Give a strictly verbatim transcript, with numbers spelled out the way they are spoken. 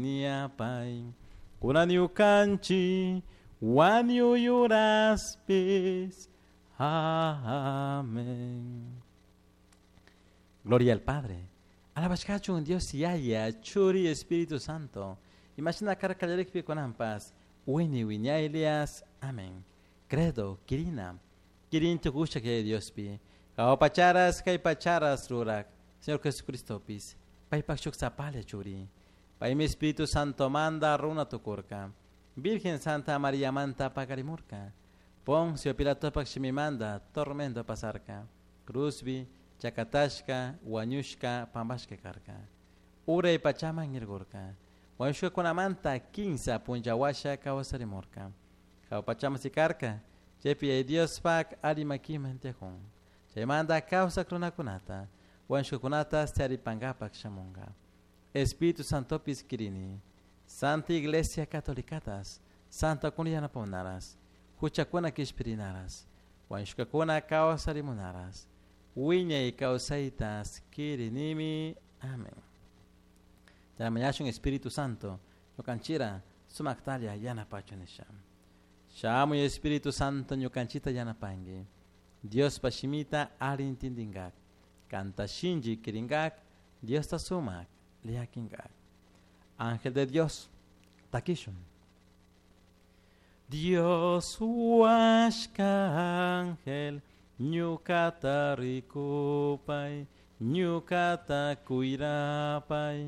Niapay kunan ñukanchik wañuy uraspis. Amén. Gloria al Padre. Alabashkachun Dios Yaya, Churi Espíritu Santo. Imashina karka kallarikpi kunanpas wini wiñaylias. Amén. Credo, kirina. Kirin tukusha que Diospi. Jahua pacharas, kay pacharas rurak. Señor Jesucristopis. Paypak shuk sapalla churi. Paymi Espíritu Santo manda runa tukurka. Virgen Santa María manta pakarimurka. Poncio Pilatopak shimimanda tormento pasarka. Cruzbi, chakatashka, wañushka, pampashka karka. Uray pachaman irgurka. Wañushkakunamanta kinsa punlla washa kawsarimurka. Jahua pachaman sikarka. Chaypi Diospak alli makiman tiyakun. Chaymanta kawsak runakunata, wañushkakunata taripankapak shamunka. Espíritu Santopis kirini. Santa Iglesia Catolicatas, Santa kuna yanapamunaras, huchakuna kishpirinaras, wañushkakuna kawsarimunaras, wiñay kawsaytas kirinimi. Amén. Mañashun Espíritu Santo, ñukanchira sumaktalla yanapachun nisha. Shamuy Espíritu Santo ñukanchita yanapanki. Diospa shimita alli intindingak. Kanta shinchi kiringak, Diosta sumak llakinkak. Ángel de Dios, takishun. Dios huashka ángel, ñukata rikupay, ñukata cuirapay.